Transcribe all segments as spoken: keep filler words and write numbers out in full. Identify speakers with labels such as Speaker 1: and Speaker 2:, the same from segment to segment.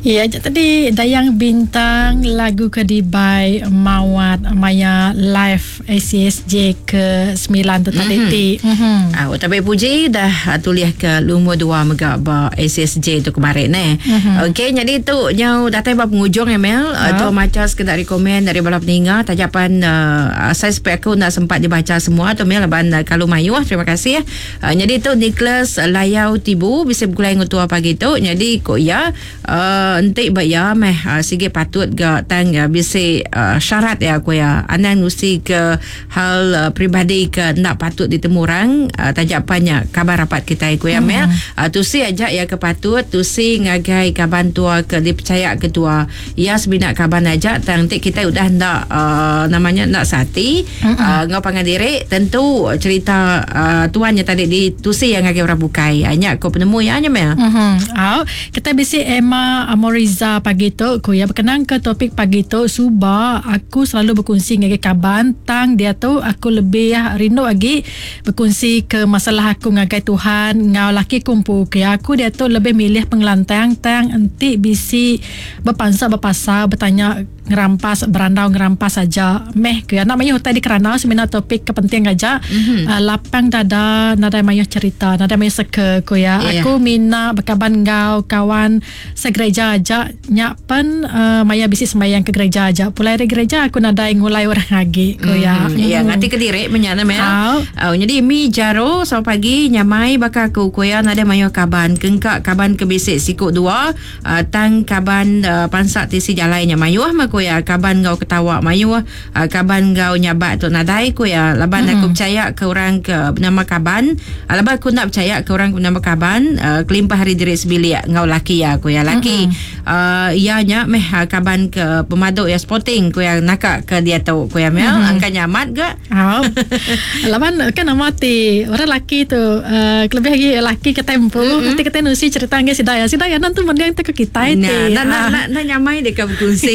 Speaker 1: Ya, tadi Dayang Bintang lagu ke dibai Mawat maya live A C S J ke sembilan tu tadi mm-hmm. ti.
Speaker 2: Mm-hmm. Ah, tapi puji dah tulis ke lumur dua mega ba A C S J tu kemarin eh. Mm-hmm. Okey, jadi tu nyau datai ba penghujung ya Mel. Uh, tu maca sekedar rekomen dari bala peninga tajapan uh, saya spek aku nak sempat dibaca semua tu Mel laban uh, kalau mayuh terima kasih. Uh, jadi tu Nicholas Layau Tibu bisa bergulai ngutua pagi tu. Jadi kok ya uh, entik ba ya meh uh, sige patut ga tang uh, bisi uh, syarat ya aku ya anang nusi ke hal uh, peribadi ke nak patut ditemu orang uh, tajapannya kabar rapat kita ku ya meh uh, tusi aja ya ke patut tusi ngagai kaban tua ke dipercaya ketua ya sebinak kaban aja tang entik kita udah ndak uh, namanya ndak sati uh, ngau pangan diri tentu cerita uh, tuannya tadi ditusi yang ngagai orang bukai hanya ko penemu ya nya meh.
Speaker 1: Mhm. Uh, kita bisi Emma Amoriza pagi tu ku ya berkenang ke topik pagi tu suba aku selalu berkongsi dengan kaban tang dia tu aku lebih rindu lagi berkongsi ke masalah aku ngagai Tuhan ngau laki kumpu ke aku dia tu lebih milih pengelantang tang enti bisi berpansa berpasar bertanya ngerampas berandau ngerampas saja meh ke anak mayuh tadi kerana semina topik kepenting aja mm-hmm. uh, lapang dada nadai mayuh cerita nadai mayuh seke ku ya yeah. Aku mina berkaban ngau kawan segereja aja nyak pen uh, maya bisi sembahyang ke gereja aja pulai dari gereja aku nadai ngulai orang lagi ku ya
Speaker 2: mm-hmm. Ya ngati ke direk menyana meh oh. Uh, jadi mi jaro sampai pagi nyamai bakal aku ku ya nadai mayuh kaban kengkak kaban ke bisik sikuk dua uh, tang kaban uh, pansak tisi jalai nya mayuh mah ku ya kaban ngau ketawa mayuh uh, kaban ngau nyabak tu nadai ku ya laban mm-hmm. aku percaya ke orang ke bernama kaban uh, laban aku nak percaya ke orang ke bernama kaban uh, kelimpah hari diri sebilik ngau laki ya ku ya laki mm-hmm. uh, ya nya meh kaban ke pemaduk ya sporting ku ya nakak ke dia tu ku ya mel mm-hmm. angka nyamat ke
Speaker 1: oh. Laban kan nama ti orang laki tu uh, lebih lagi laki ke tempo mm-hmm. nanti kita nusi cerita nge sidaya sidaya nanti mending te ke kita
Speaker 2: ti nah nah nah, nah nyamai deka berkongsi.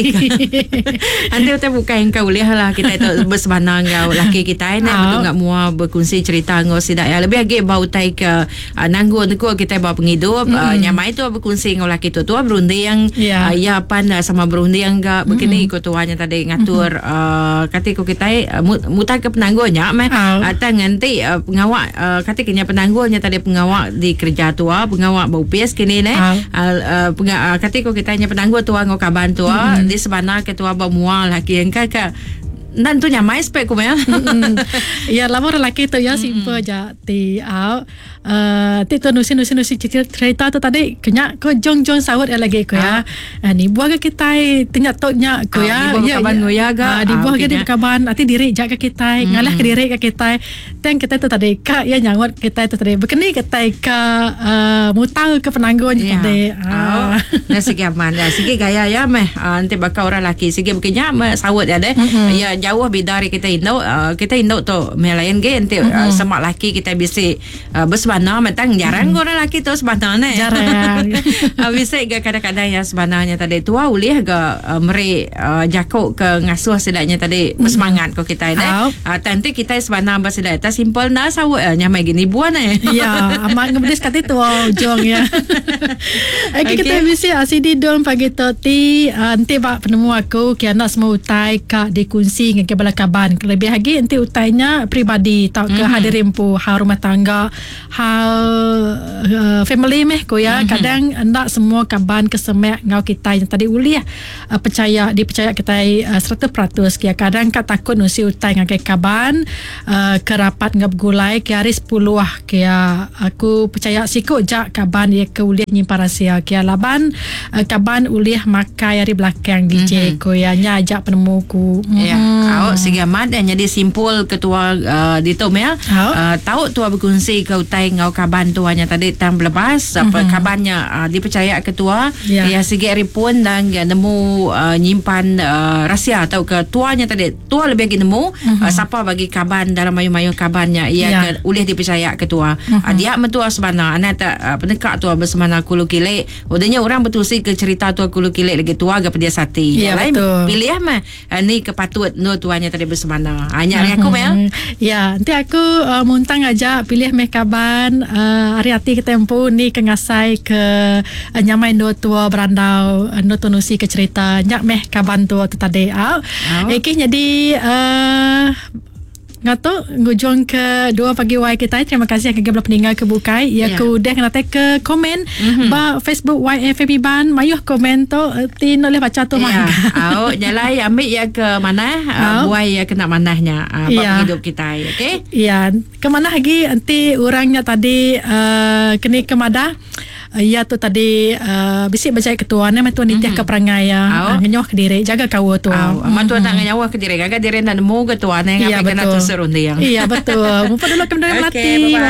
Speaker 2: Nanti kita buka yang kau boleh lah kita itu bersebana ngau laki kita ni betul ngak mua berkongsi cerita ngau sidak ya lebih lagi bau tai ke uh, nanggung tu kita bawa penghidup mm-hmm. uh, nyamai tu berkongsi ngau laki tu tu berunding yeah. uh, ya pan uh, sama berunding ga begini mm-hmm. tuannya tadi ngatur mm-hmm. uh, kata ko kita uh, mutar ke penanggulnya meh oh. uh, tang nanti uh, pengawak uh, kata kena penanggulnya tadi pengawak di kerja tua pengawak bau pies kini ne oh. uh, uh, penga, uh, kata ko kita nya penanggul tua ngau kaban tua mm-hmm. di sebana ketua bawa laki yang kakak nan tu nyamai spek ku mel.
Speaker 1: Ya lama lelaki tu ya simple je ti au uh, ti tu nusi nusi nusi cerita tu tadi kenyak ko jong jong sawut ya lagi ko ya. Uh, ni buah ke kita tinyak tok nyak ko ya.
Speaker 2: Di buah kaban ya ga.
Speaker 1: Di buah ke di kaban ati diri jak ke kita ngalah ke diri ke kita. Teng kita tu tadi ka ya nyawat kita tu tadi bekeni kita ka uh, mutal ke penanggung yeah. tadi.
Speaker 2: Ah. Nah segi aman dah segi gaya ya meh nanti bakal orang laki segi bekenyak meh sawut ya deh. Ya jauh beda dari kita induk uh, kita induk tu melain ge nanti mm-hmm. uh, semak laki kita bisa uh, bersebana mentang jarang mm-hmm. orang laki tu sebana ne
Speaker 1: jarang
Speaker 2: uh, bisa ge kadang-kadang yang sebenarnya tadi tua ulih ge uh, meri uh, jakuk ke ngasuh sedaknya tadi mm-hmm. bersemangat ko kita ne uh, nanti kita sebana bersedak ta simple na sawut uh, nyamai gini buan eh
Speaker 1: ya amat ngebedis kati tua ujung ya. Okey okay. Kita bisa asidi dom pagi tu ti uh, nanti bak penemu aku kiana semua utai ka dikunsi dengan kebala kaban lebih lagi nanti utainya peribadi tak ke mm-hmm. hadir empu hal rumah tangga hal uh, family meh ko ya mm-hmm. kadang ndak semua kaban kesemek ngau kita yang tadi ulih uh, percaya dipercaya kita uh, seratus peratus kia kadang ka takut nusi utai ngagai kaban uh, kerapat ngap gulai ke hari sepuluh kia aku percaya sikuk jak kaban dia ke ulih nyimpan rahsia kia laban uh, kaban ulih makai hari belakang D J mm-hmm. ko ya nya ajak penemu ku
Speaker 2: mm-hmm. Ya awak segi amat dan jadi simpul ketua uh, di tu ya. Uh, tahu tua berkongsi ke utai ngau kaban tuanya tadi tang belepas mm-hmm. apa kabannya uh, dipercaya ketua yeah. Ya segi ripun dan ya, nemu uh, nyimpan uh, rahsia atau ke tuanya tadi tua lebih lagi nemu mm-hmm. uh, siapa bagi kaban dalam mayu-mayu kabannya ia yeah. ke ulih dipercaya ketua mm-hmm. uh, dia mentua sebana anak tak uh, penekak tua bersemana kulu kilik udahnya orang betusi ke cerita tua kulu kilik lagi tua ga pedia sati
Speaker 1: yeah,
Speaker 2: lain
Speaker 1: betul.
Speaker 2: Pilih mah uh, ni kepatut nur endur tuannya tadi bersemana. Hanya hari aku Mel.
Speaker 1: Ya, nanti aku uh, muntang aja pilih meh kaban uh, hari hati kita empu ni ke ngasai ke uh, nyamai endur tua berandau endur tu nusi ke cerita nyak meh kaban tua tu tadi. Au. Oh. Okey, jadi uh, ngatuk ngujung ke dua pagi Y kita. Terima kasih ke bela peninggal ke bukai. Ya yeah. ku dah kena ke komen mm-hmm. ba Facebook Y F M Iban. Mayuh komen tu ti boleh baca tu
Speaker 2: mah. Au nyalai ambil ya ke mana uh, buai ya kena manahnya uh, bab yeah. hidup kita. Okey.
Speaker 1: Ya, ke mana lagi nanti orangnya tadi uh, kini ke madah. Ya tu tadi uh, bisik baca ketua ni tuan nitih mm-hmm. ke perangai ya uh, ngenyoh ke diri jaga kawa tu.
Speaker 2: Amat tuan nak ngenyoh ke diri gaga diri nak nemu ke tuan ni
Speaker 1: ya,
Speaker 2: kena tu serunding.
Speaker 1: Iya betul. Mupa dulu ke melati.
Speaker 2: Bye.